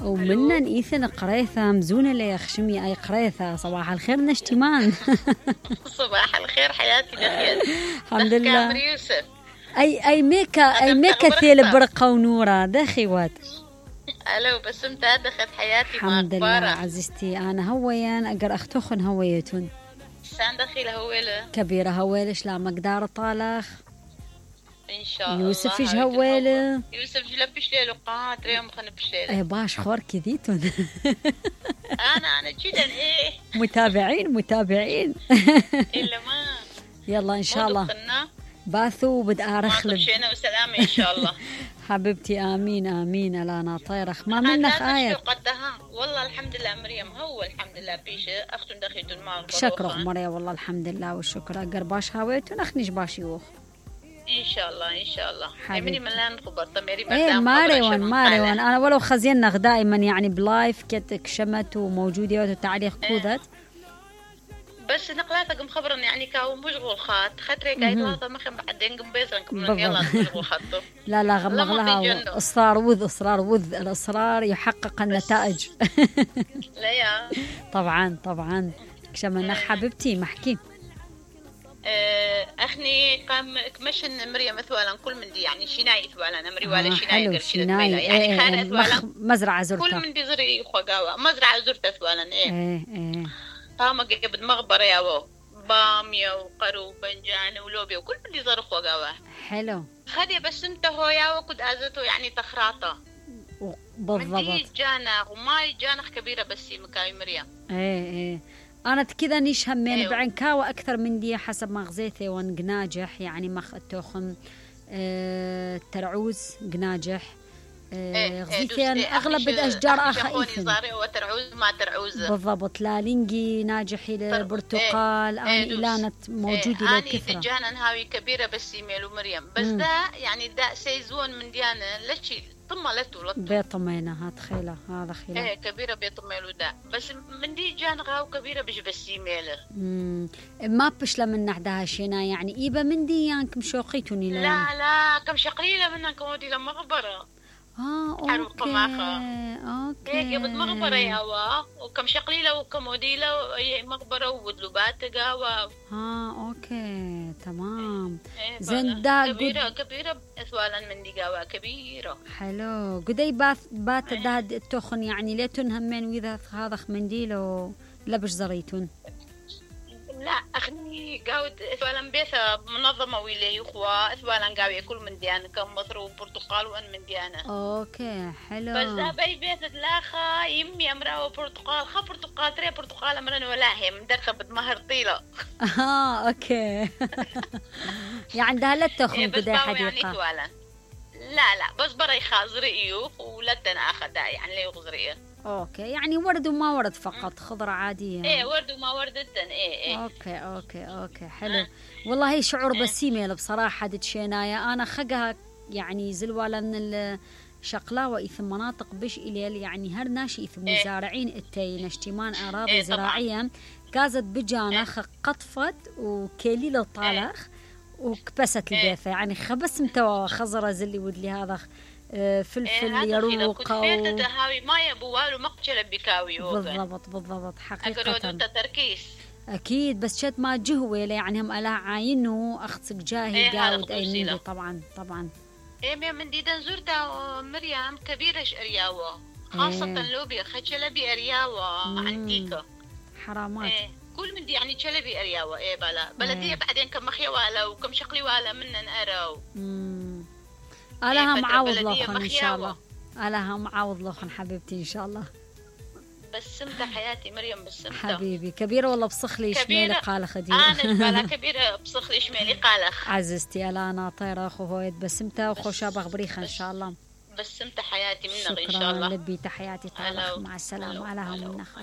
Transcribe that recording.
ومنا إيثن قريثة مزونة لي خشمي أي قريثة. صباح الخير نشتمان. صباح الخير حياتي دخيل. الحمد لله. يوسف أي ميكا ثيل برقة ونورة دخي وات. ألو بسمت دخلت حياتي. الحمد لله عزيزتي. أنا هويان أقر أختخن هويتون سان دخيل هويلة كبيرة هويلش لا مقدار طالخ إن شاء الله. يوسف إيش هويلة يوسف جلبش ليلو قات ريوم خنبش ليلة. إيه باش خور كذيتون. أنا جدا إيه متابعين. إلا ما يلا إن شاء الله باثو بدأ أرخلب شينا وسلامة إن شاء الله. حبيبتي آمين ألا أنا طيرخ ما منك آية قدها والله الحمد لله مريم. هو الحمد لله بيش أختن دخيتون ما شكرا مريم والله الحمد لله والشكر أقر باش هاويتون أخنيش باش يوخ إن شاء الله حبيبتي من لا نخبر طميري ماريوان أنا ولو خزينا دائما يعني بلايف كتك شمت وموجودة وتعليق كوذت بس نقلاتك مخبرن يعني كاو مشغول خاطري قايد هذا ما خم بعدين قبيزن كم يلا مشغول خاطر لا غمغ لها اصرار وذ الاصرار يحقق النتائج. لا يا طبعا كشمنا حبيبتي محكي اخني قام كمشن مريم مثلا كل من دي يعني شناي ثوالا نمري ولا شناي يعني خانه ثوالا مزرعه زرتها كل من دي زري خوغاوا مزرعه زرتها ثوالا ايه قام قبل مغبره يا باميه وقرو وبنجان ولوبيا وكل من دي زر خوغاوا حلو خدي بس انت هو يا وكد ازته يعني تخراطه بالضبط جانا وما جانخ كبيره بس مكاي مريم ايه أنا كذا نيش همين أيوه. بعنكاوة أكثر من دي حسب ما غزيتي ونقناجح يعني مخ التوخم ترعوز قناجح غزيتين أغلب الأشجار إيثن وترعوز ما ترعوز بالضبط لالينجي ناجحي البرتقال أنا إلانة موجودة لكثرة أنا جانا هاوي كبيرة بس يميلو مريم بس ده يعني ده سيزون من ديانا لشي طملته بيطمينا هتخيله هذا خيله ايه كبيره بيطميلو ده بس من دي جان غاو كبيره بس يميله ما بشله من نحدها شينا يعني ايبه من دي يانك مشوقيتوني لا كم شقليله منك ودي لمغبره اوكي هيك بد مغبره يا وكم شقليله وكم وديله مغبره وودلوبات قهوه اوكي تمام زين دا كبيره اثوالا من دي قهوه كبيره حلو قدي بات داد التخن يعني ليتون همين واذا هذا منديل لبش زريتون لا أخني قاود إثوالا بيثا منظمة ويلي أخوة إثوالا قاوية كل من ديانا كم مصر وبرتقال وأن من ديانا أوكي حلو بس ذا بي بيثا لا يمي أمرا وبرتقال برتقال تري برتقال أمرا ولا هي مدرسة بدمهر طيلة أوكي يعني ده لا تخون كده حديقة يعني لا بس برا يخازري ولا تنأخذها يعني ليه يغزريه اوكي يعني ورد وما ورد فقط خضرة عادية ايه ورد وما ورد ايه اوكي حلو والله هي شعور بسيمة بصراحة دتشينايا انا خقها يعني زلوالا من الشقلاوة إثم مناطق بش إليل يعني هر ناشي إثم مزارعين التي نشتمان أراضي زراعية كازت بجانا قطفت وكيلي طالخ وكبست البيثة يعني خبس متوا خضرة زلي ودلي هذا فلفل يروق هاوي ما يبوالو مقتل بكاوي بالضبط حقيقة أقرأ تركيز أكيد بس شد ما جهوي يعني هم ألا عاينه أخصك جاهي قاود أي مندي طبعا إيه من دي دنزورتا مريم كبيرة أرياوة خاصة لوبيا خشلبي أرياوة عنديكا حرامات كل من دي يعني تشلبي أرياوة بلدية بعدين كم مخيوالا وكم شقلي والا منن أراو ألها معاوض لوخن إن شاء الله ألها معاوض لوخن حبيبتي إن شاء الله بسمتها حياتي مريم بسمتها حبيبي كبيرة والله بصخلي شميلي قال خديجة أنا كبيرة بصخلي شميلي قالخ عززتي ألا أنا طيرة أخو هويد بسمتها وخوشا بغبريخة إن شاء الله بسمتها حياتي منك إن شاء الله شكرا لبي تحياتي طالخ مع السلامة ألها منخ